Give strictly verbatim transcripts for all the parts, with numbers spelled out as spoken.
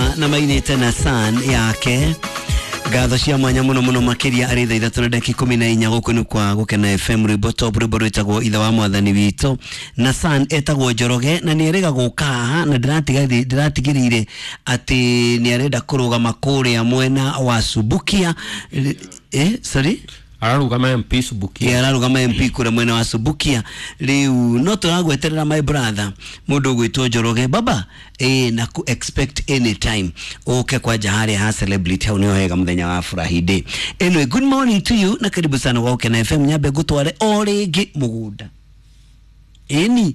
Njoroge na mainite na san yake ngatho cia mwanya muno muno makiria ari thaa ithatu na ndagika ikumi na inya guku ni kwa Gukena F M rwimbo top rwimbo rwitagwo ithe wa mwathani witũ na san etagwo Njoroge na nĩ erĩga gũka haha na ndĩratigĩrĩire atĩ nĩ arenda kũrũgama kũrĩa mwena wa Subukia eh sorry ararugama M P Subukia yeah, ararugama M P kũrĩa mwena wa Subukia rĩu no tũragweterera my brother mũndũ ũgwĩtwo Njoroge baba eh na ku expect any time uke kwanja harĩa ha celebrity hau nĩho hega mũthenya wa furahi day. Anyway, good morning to you na karibu sana kwa Gukena F M. Nyambe ngũtware o rĩngĩ mũgũnda ĩni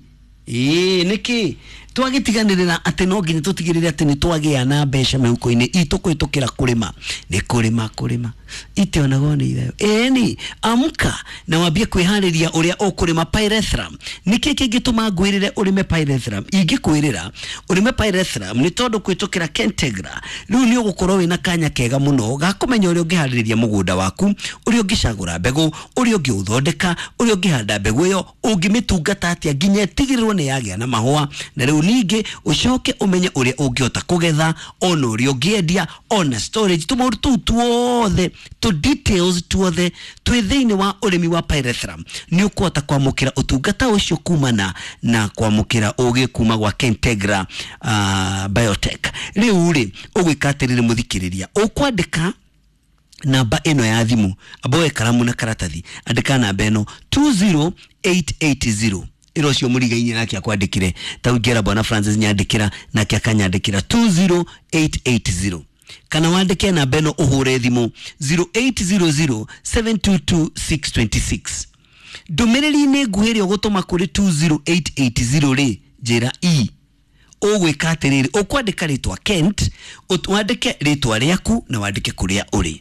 ĩĩ nĩkĩ twagĩtiganĩrĩra atĩ no nginya tũtigĩrĩre atĩ nĩ twagĩa na mbeca mĩhuko-inĩ itũ kũhĩtũkĩra kũrĩma nĩ kũrĩma kũrĩma itionagwo nĩ ithayo ĩni amka na wambie kwĩharĩria ũrĩa ũkũrĩma pyrethrum. Nĩkĩ kĩngĩtũma ngwĩrĩre ũrĩme pyrethrum? Ingĩkwĩrĩra ũrĩme pyrethrum nĩ tondũ kũhĩtũkĩra Kentegra rĩu nĩ ũgũkorwo wĩna kanya kega mũno ga kũmenya ũrĩa ũngĩharĩrĩria mũgũnda waku, ũrĩa ũngĩcagũra mbegũ, ũrĩa ũngĩũthondeka, ũrĩa ũngĩhanda mbegũ ĩyo, ũngĩmĩtungata atĩa nginya ĩtigĩrĩrwo nĩ yagĩa na mahũa, na rĩu ningĩ ũcoke ũmenye ũrĩa ũngĩhota kũgetha ona ũrĩa ũngĩendia ona storage tũmaũndũ tũu tuothe tũ details tuothe twĩ thĩinĩ wa ũrĩmi wa pyrethrum. Nĩ ũkũhota kwamũkĩra ũtungata ũcio kumana na kwamũkĩra ũgĩ kuma gwa Kentegra uh, Biotech. Rĩu rĩ ũgwĩka atĩrĩrĩ mũthikĩrĩria, ũkwandĩka namba ĩno ya thimũ, amboe karamu na karatathi, andĩka namba ĩno two zero eight eight zero ĩro cio mũriga-inĩ nake akwandĩkire ta ũngĩra bwana Francis nyandĩkĩra nake akanyandĩkĩra two zero eight eight zero kana wandĩke namba ĩno ũhũre thimũ zero eight zero zero seven two two six two six. Ndũmĩrĩri-inĩ nguhĩ ĩrĩa ũgũtũma kũrĩ two zero eight eight zero rĩ njĩra e ũgwĩka atĩrĩrĩ, ũkwandĩka rĩtwa Kent, wandĩke rĩtwa rĩaku na wandĩke kũrĩa ũrĩ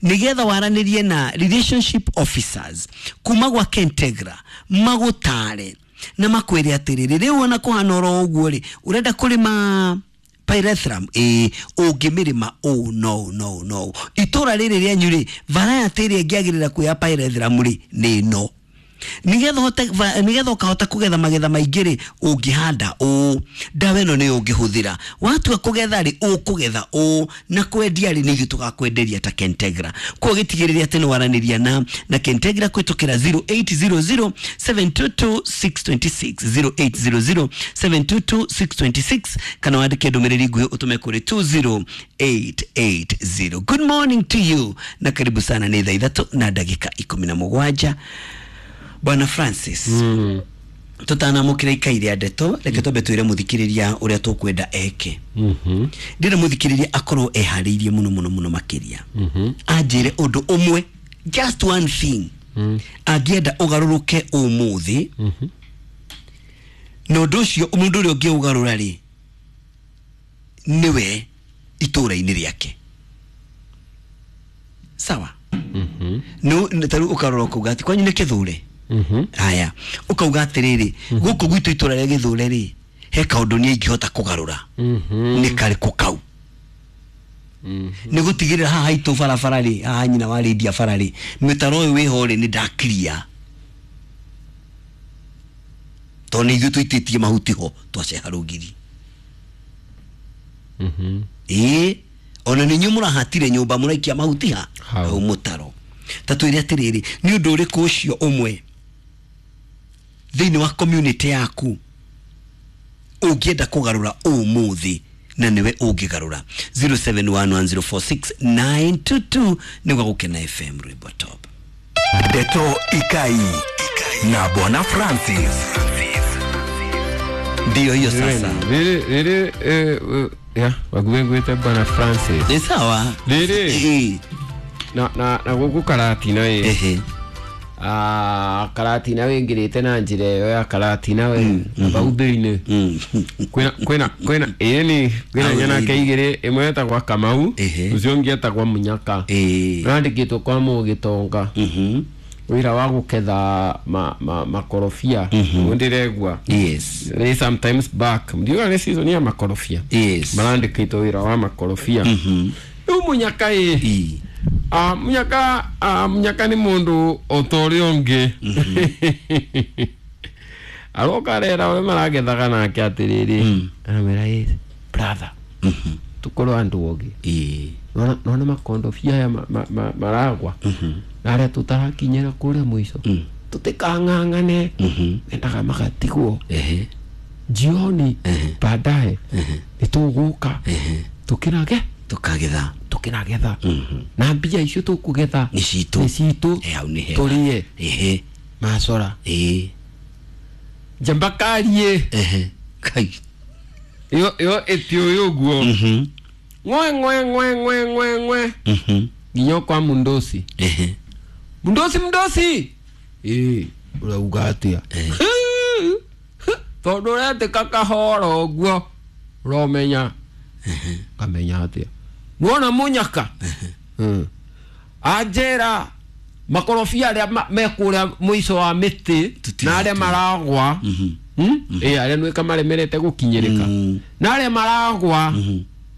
nigetha waranĩrie na relationship officers kuma gwa Kentegra magũtare na makwĩre atĩrĩrĩ rĩu ona kũhana oro ũguo rĩ ũrenda kũrĩma pyrethrum ĩ ũngĩmĩrĩma oh no no no itũra rĩrĩ rĩanyu rĩ variety ĩrĩa ĩngĩagĩrĩra kuoya pyrethrum rĩ nĩ ĩno nigetha hote nigetha ukahota kugetha magetha maingĩ rĩ ũngĩhanda ũũ ndawa ĩno nĩ ũngĩhũthĩra watua kũgetha rĩ ũkũgetha ũũ na kwendia rĩ nĩ ithuĩ tũgakwenderia ta Kentegra. Koguo gĩtigĩrĩre atĩ nĩ waranĩria na na Kentegra kũhĩtũkĩra zero eight zero zero seven two two six two six zero eight zero zero seven two two six two six kana wandĩke ndũmĩrĩri nguhĩ ũtũme kũrĩ two zero eight eight zero. Good morning to you na karibu sana. Nĩ thaa ithatũ na ndagĩka ikũmi na mũgwanja. Bwana Francis, mm. tutanamukira ikaire ndeto reke twambe twire muthikiriria uria tukwenda eke. Mhm. Ndire muthikiriria akorwo eharĩirie muno muno muno makiria. Mhm. Anjire undu umwe, just one thing. Mm. Angĩenda ugaruruke umuthi. Mhm. Na undu ucio mundu uria ũngĩũgarũra rĩ niwe itũra-inĩ rĩake. Sawa? Mhm. No taru ukarora kuga ati kwanyu nĩ Kĩthure. Mhm. Haya, ukauga atiriri guku gwitu itura rĩa Gĩthure rĩ he kaũndũ niĩ ingĩhota kũgarũra. Mhm. Nĩ karĩkũ kau? Mhm. Nĩ gũtigĩrĩra haha haitũ barabara rĩ, haha nyina wa Lydia bara rĩ, mĩtaro ũyũ wĩho rĩ nĩ ndakiria tondũ nĩ ithuĩ tũitĩtie mahuti ho twaceha rũgiri. Mhm. Ĩĩ ona nĩ inyuĩ mũrahatire nyũmba mũraikia mahuti ha hau mũtaro. Ta twĩre atĩrĩrĩ nĩ ũndũ ũrĩkũ ũcio ũmwe thĩinĩ wa community yaku ũngĩenda kũgarũra ũmũthĩ na nĩwe ũngĩgarũra? Zero seven one one zero four six nine two two nĩ gwa Gukena F M rwimbo top. Ndeto Ikai na Bwana Francis. Ndio hiyo sasa. Rĩrĩ rĩrĩ eh ya wagwengwete Bwana Francis. Ni sawa. Rĩrĩ na na na gũkũ Karatina ĩ. Ehe. Ah Karatina wĩingĩrĩte na njĩra ĩyo ya Karatina we bau thĩinĩ. Kwĩna kwĩna kwĩna ĩni kwĩna nyanake igĩrĩ ĩmwe ĩtagwo Kamau ũcio ũngĩ etagwo Munyaka. Randĩkĩtwo kwa Mũgĩtonga. Mhm. Wĩra wa gũketha ma, ma, makorobia mm-hmm. Ndĩregua. Yes. Nĩ sometimes back ndiuga nĩ season ya makorobia. Yes. Marandĩkĩtwo wĩra wa makorobia. Mhm. Rĩu Munyaka ĩ ah Munyaka ah Munyaka nĩ mũndũ o ta ũrĩa ũngĩ. Aroka rera ũrĩa maragethaga nake atĩrĩrĩ aramwĩra ĩ brother Tukorwo andũ ogĩ. Ĩĩ. Nona nona makondobia aya ma- ma- ma- maragwa na arĩa tũtarakinyĩra kũrĩa mũico tũtikang'ang'ane, mendaga magatigwo Ehe. jioni baadaye nĩ tũgũka tũkĩrage Tũkagetha. Tũkĩragetha na mbia icio tũkũgetha Nĩ citũ. Nĩ citũ. Eh, hau nĩ hega. Tũrĩe Ehe. macora. Ĩĩ. Njambakarie. Ehe. Kai. Ĩyo ĩyo ĩtiũĩ ũguo. Mhm. Ng'we ng'we ng'we ng'we ng'we ng'we Mhm. nginya kwa mundosi. Ehe. Mundosi, mundosi, ĩĩ, ũrauga atĩa? Tondũ ũretĩka kahora ũguo ũromenya ngamenya atĩa nuona mũnyaka. Mm. Anjĩra makorobia arĩa ma- me kũrĩa mũico wa mĩtĩ Tũtigatue. na arĩa maragwa. Hmm? Ĩ, arĩa nwĩka maremerete gũkinyĩrĩka Mm. na arĩa maragwa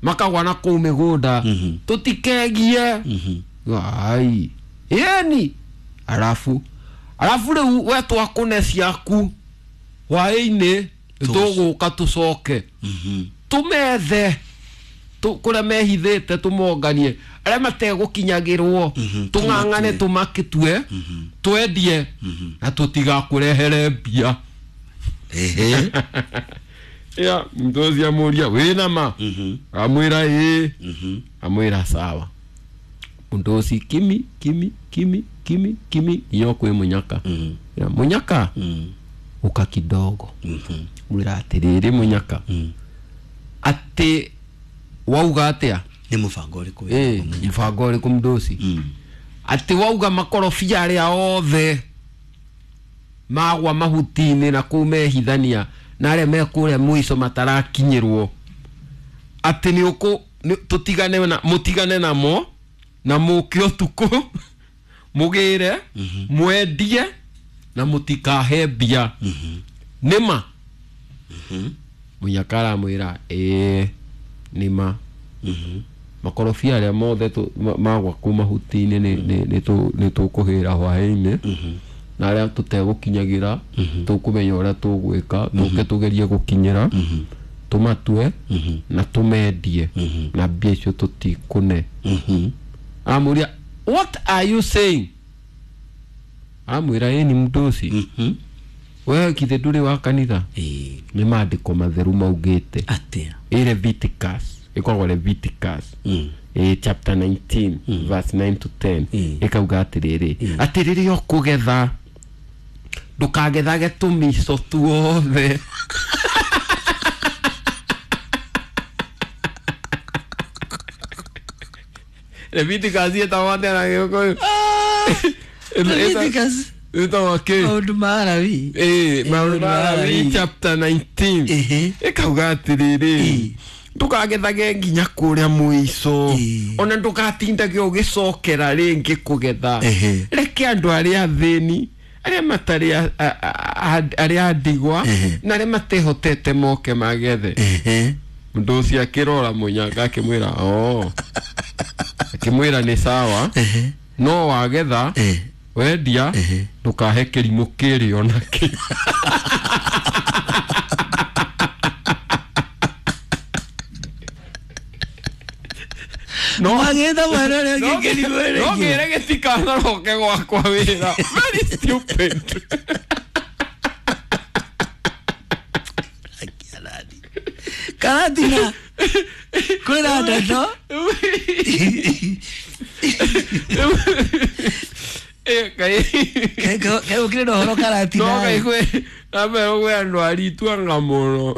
makagwa na kũu mĩgũnda tũtikegie ai ĩni arabu arabu rĩu we twakũne ciaku hwaĩ-inĩ nĩtũgũka tũcoke tũmethe tũ- kũrĩa mehithĩte tũmonganie arĩa mategũkinyagĩrwo tũng'ang'ane tũmakĩtue twendie na tũtigakũrehere mbia. Ehe. Ya mtozi amũria wĩna ma, amwĩra ĩĩ, amwĩra sawa. Mũndoci kimi kimi kimi kimi kimi nginya kwĩ mũnyaka. Ya, mũnyaka, ũka kidogo. Mwĩra atĩrĩrĩ, mũnyaka, atĩ wauga atĩa? Nĩ mũbango ũrĩkũ wĩ Ĩ, naguo, Mũnyaka? Mũbango ũrĩkũ mũndoci? Atĩ wauga makorobia arĩa othe magwa mahuti-inĩ na kũu mehithania na arĩa me kũrĩa mũico matarakinyĩrwo atĩ nĩ ũkũ nĩ- tũtigane na mũtigane namo na mũke ũtukũ mũgĩre mwendie na mũtikahe mbia nĩma? Mũnyaka aramwĩra ĩĩ, nĩma, makorobia arĩa mothe tũ- ma- magwa kũu mahuti-inĩ nĩ- nĩ- nĩ tũ- nĩ tũkũhĩra hwaĩ-inĩ na arĩa tũtegũkinyagĩra tũkũmenya ũrĩa tũgwĩka tũke tũgerie gũkinyĩra tũmatue na tũmendie na mbia icio tũtikũne. Amũria, "What are you saying?" Amwĩra, ĩni mũndũ we githĩ ndũrĩ wa kanitha? Ĩĩ. Nĩ maandĩko matheru maugĩte. Atĩa? Ĩ Leviticus, ĩkoragwo Leviticus Mm. ĩ chapter nineteen verse nine to ten. Mm. Ĩkauga atĩrĩrĩ, atĩ rĩrĩa ũkũgetha ndũkagethage tũmico tuothe. Leviticus ĩtagwo atĩa na Gĩkũyũ? Leviticus. Ĩtagwo kĩ? Maũndũ ma Alawi. Ĩ, maũndũ ma Alawi chapter nineteen. Ehe. Ĩkauga atĩrĩrĩ, Ĩ. ndũkagethage nginya kũrĩa mũico, Ĩ. ona ndũgatindage ũgĩcokera rĩngĩ kũgetha. Ehe. Reke andũ arĩa athĩni, arĩa matarĩ a- a- a- arĩa ndigwa Ehe. na arĩa matehotete moke magethe. Ehe. Mũndũ ũcio akĩrora mũnyaka akĩmwĩra o akĩmwĩra nĩ sawa, Ehe. no wagetha Eh. wendia Ehe. ndũkahe kĩrimũ kĩrĩ ona kĩ. No Magetha mwena ũrĩa no ũngĩ kĩrimũ no rĩngĩ. ngĩre gĩtikanaroke gwakwa wĩra, very stupid. Karatina kwĩna ndeto. Eh, kai Kaĩ na ũhoro no Karatina? Kai kwĩ nambe kwĩ andũ arituanga mũno.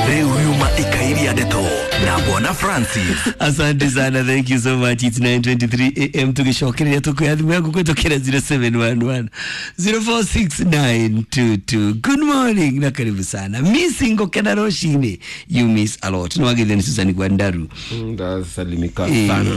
Rĩu yuma ikairia ndeto na Bwana Francis. Asante sana, thank you so much. It's nine twenty-three a m. Tugicokereria tukuya thimu yaku kwitukira zero seven one one zero four six nine two two. Good morning na karibu sana. Missing gukena rucini, you miss a lot. Nĩ wagithio nĩ Susan Gwandaru. Ndasalimika sana.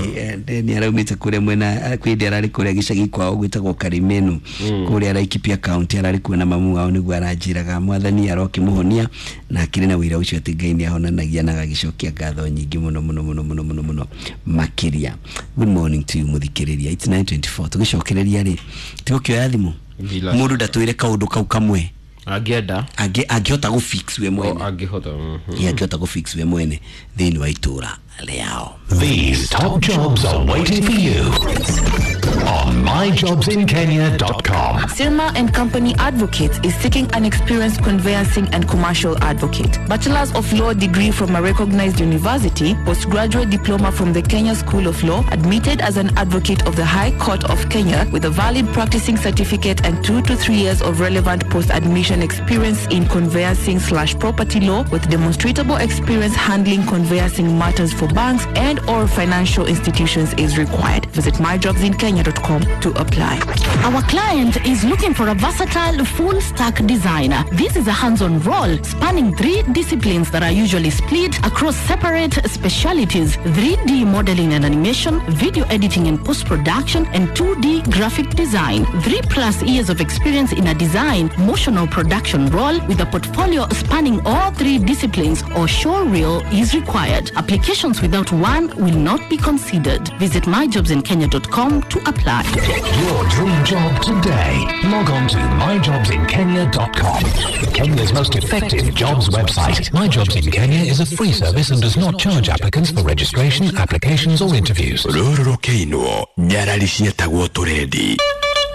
Nĩ araumĩte kũrĩa mwena kwĩ ndĩ ararĩ kũrĩa gĩcagi kwao gwĩtagwo Karimenu kũrĩa Laikipia County, ararĩ kuo na mamu wao nĩguo aranjĩraga mwathani arokĩmũhonia na akĩrĩ na wĩra ũcio atĩ Ngai nĩ ahonanagia na agagĩcokia ngatho nyingĩ mũno mũno mũno mũno mũno mũno makĩria. Good morning to you, mũthikĩrĩria. It's nine twenty-four. Tũgĩcokereria rĩ, tigũkĩoya thimũ. Bila Mũndũ ndatwĩre kaũndũ kau kamwe. Angĩenda. Angĩ- angĩhota gũ fix we O mwene. Angĩhota, mhm. Ĩ, angĩhota gũ fix we mwene thĩinĩ wa itũra rĩao. These top jobs are waiting for you on my jobs in kenya dot com. Sirma and Company Advocates is seeking an experienced conveyancing and commercial advocate. Bachelor's of Law degree from a recognized university, postgraduate diploma from the Kenya School of Law, admitted as an advocate of the High Court of Kenya with a valid practicing certificate and two to three years of relevant post-admission experience in conveyancing slash property law with demonstrable experience handling conveyancing matters for banks and or financial institutions is required. Visit my jobs in kenya dot com to apply. Our client is looking for a versatile full-stack designer. This is a hands-on role spanning three disciplines that are usually split across separate specialities: three D modeling and animation, video editing and post-production, and two D graphic design. Three plus years of experience in a design, motion or production role with a portfolio spanning all three disciplines or showreel is required. Applications without one will not be considered. Visit my jobs in kenya dot com to apply. Get your dream job today. Log on to my jobs in kenya dot com. Kenya's most effective jobs website. My Jobs in Kenya is a free service and does not charge applicants for registration, applications or interviews. Rũrũ rũkĩinwo nyarari cietagwo tũrendi.